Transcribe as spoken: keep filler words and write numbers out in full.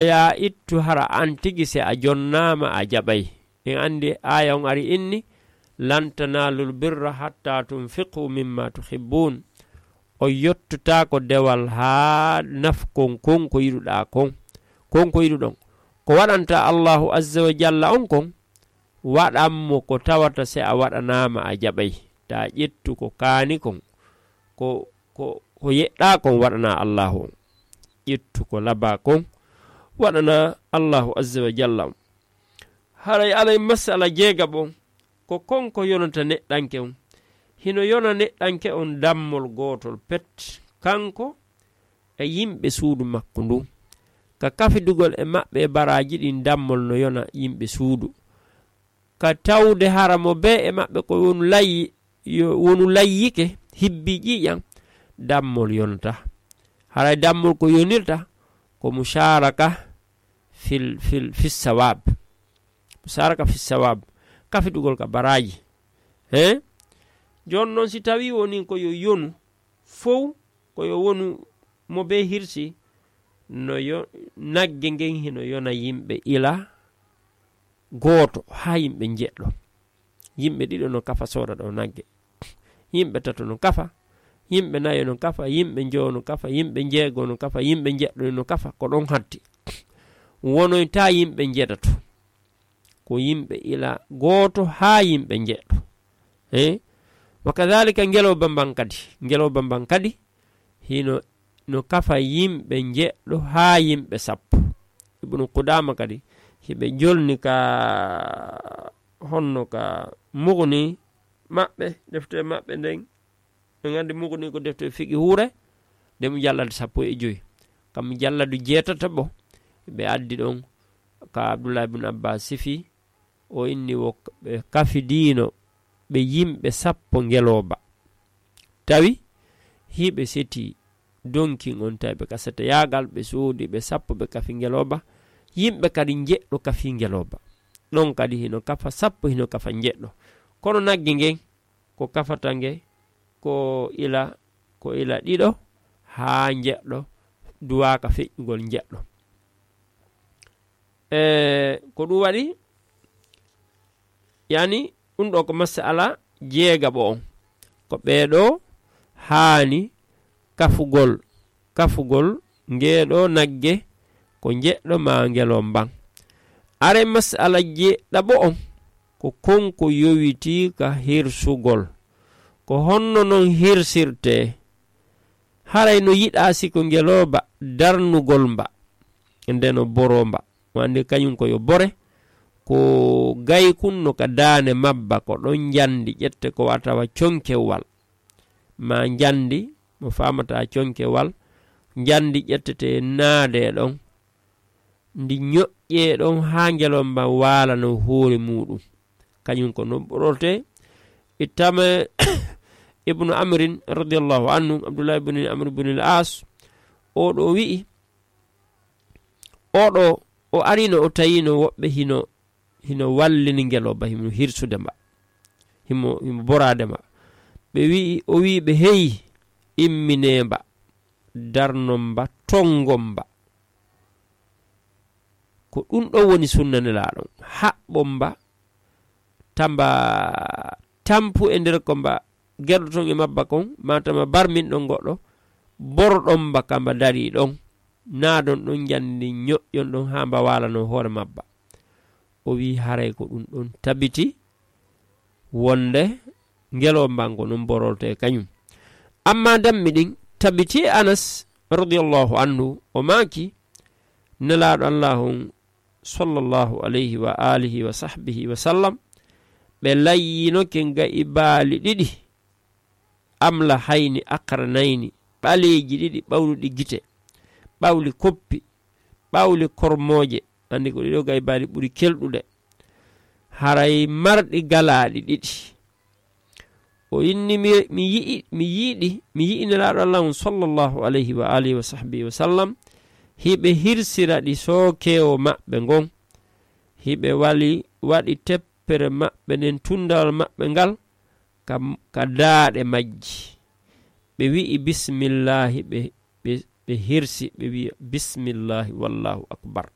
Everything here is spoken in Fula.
Yaa ittu hara an tigi se a jonnaama a jaɓay. En anndi aaya on ari inni, "Lan tanaalul birra hatta tunfiqu mimma tuhibbun." O yottotaako dewal haa nafkon kon ko yiɗuɗaa kon. Kon ko yiɗuɗon. Ko waɗanta Allahu azza wa jalla on kon, waɗan mo ko tawata se a waɗanaama a jaɓay. Taa ƴettu ko kaani kon, ko, ko, ko yeɗɗaa kon waɗanaa Allahu on. Ƴettu ko labaa kon, waɗanaa Allahu azza wa jalla on. Haray alay masala jeegaɓo on, ko kon ko yonata neɗɗanke on. Hino yona neɗɗanke on dammol gootol pet, kanko e yimɓe suudu makko ndun. Ka kafidugol e maɓɓe e baraaji ɗin, dammol no yona yimɓe suudu. Ka tawde hara mo bee e maɓɓe ko wonu layyi, yo wonu layyike, hibbi ƴiiƴan, dammol yonata. Haray dammol ko yonirta ko musharaka fil, fil, fis sawab. Musharaka fis sawab. Kafidugol ka baraaji. He? Jooni non si tawii woni ko yo yonu fow, ko yo wonu mo bee hirsi, no yo, nagge ngen hino yona yimɓe ila gooto haa yimɓe njeɗɗo. Yimɓe ɗiɗo no kafa sooda ɗo nagge. Yimɓe tato no kafa. Yimɓe nayo no kafa. Yimɓe njowo no kafa. Yimɓe njeego no kafa. Yimɓe njeɗɗo no kafa. Ko ɗon hatti. Wonoyta yimɓe njeɗɗo. Ko yimɓe ila gooto haa yimɓe njeɗɗo. Eh? Wa kadhalika ngelooba mban kadi. Ngelooba mban kadi hino, no kafa yimɓe njeɗɗo haa yimɓe sappo. Ibnu Qudaama kadi, hiɓe jolni ka honno ka Mughni maɓɓe, defte maɓɓe nden. En anndi Mughni ko defte fiqi huure, nde mujalladu sappo e jowi. Kam mujalladu jeetataɓo, ɓe addi ɗon ka Abdullah ibn Abbas sifi, o inni wo ɓe kafidiino ɓe yimɓe sappo ngelooba. Tawi hiɓe seti donkin on, tawi ɓe kasata yaagal, ɓe soodi ɓe sappo, ɓe kafi ngelooba. Yimɓe kadi njeɗɗo kafi ngelooba. Ɗon kadi hino kafa sappo, hino kafa njeɗɗo. Kono nagge ngen, ko kafata nge, ko ila, ko ila ɗiɗo haa njeɗɗo, duwaaka feƴƴugol njeɗɗo. E, ko ɗum waɗi, yani, ɗum ɗo ko masala jeegaɓo on. Ko ɓee ɗo haani kafugol, kafugol ngee ɗo nagge, ko njeɗɗo maa ngelomban. Are masala jeeɗaɓo on, ko kon ko yowitii ka hirsugol. Ko honno non hirsirtee? Haray no yiɗaa si ko ngelooba darnugol mba, nde no boroo mba. Mo anndi kañum ko yo bore, ko gaykun no ka daane mabba, ko ɗon njandi ƴette ko watawa conkewal. Ma njandi mo faamata conkewal, njandi ƴettete naade ɗon. Ndi ñoƴƴee ɗon haa ngelomba waalano hoore muuɗum. Kañum ko no ɓorortee. Ittama ibnu Amrin radiyallahu anhu, Abdullah ibn Amr ibn al-As, o ɗo wi'i, o ɗo o arino, o tawino woɓɓe hino, hino wallini ngelomba, himo hirsude mba, himo, himo boraade mba. Ɓe wi'i, o wi'i ɓe, "Hey, imminee mba, darnon mba, tongon mba." Ko ɗum ɗon woni sunna Nelaaɗo on. Haɓɓon mba, tamba tampu e nder ko mba gerɗoton e mabba kon, ma tamba barmin ɗon goɗɗo, borɗon mba ka mba darii ɗon, naadon ɗon njandi ñoƴƴon ɗon haa mba waalano hoore mabba. O wi'i haray ko ɗum ɗon tabiti wonde ngelomba ngo non borortee kañum. Amma dammi ɗin tabiti e Anas radiyallahu anhu, o maaki, Nelaaɗo Allaahu on sallallahu alayhi wa alihi wa sahbihi wa sallam, ɓe layyinoke ga'i baali ɗiɗi, amla hayni aqranayni, ɓaleeji ɗiɗi ɓawluɗi gite, ɓawli koppi, ɓawli kormooje, anndi ko ɗiɗo ga'i baali ɓuri kelɗude, haray marɗi galaaɗi ɗiɗi. O inni, mi, mi yi'i, mi yiiɗi, mi yi'i Nelaaɗo Allah on sallallahu alayhi wa alihi wa sahbihi wa sallam, hiɓe hirsira ɗi sookeewo maɓɓe ngon, hiɓe wali, waɗi teppere maɓɓe nden, tundawal maɓɓe ngal, ka, ka daaɗe majji. Ɓe wi'i, "Bismillaahi," ɓe, ɓe, ɓe hersi, ɓe wiya, "Bismillahi, wallahu akbar."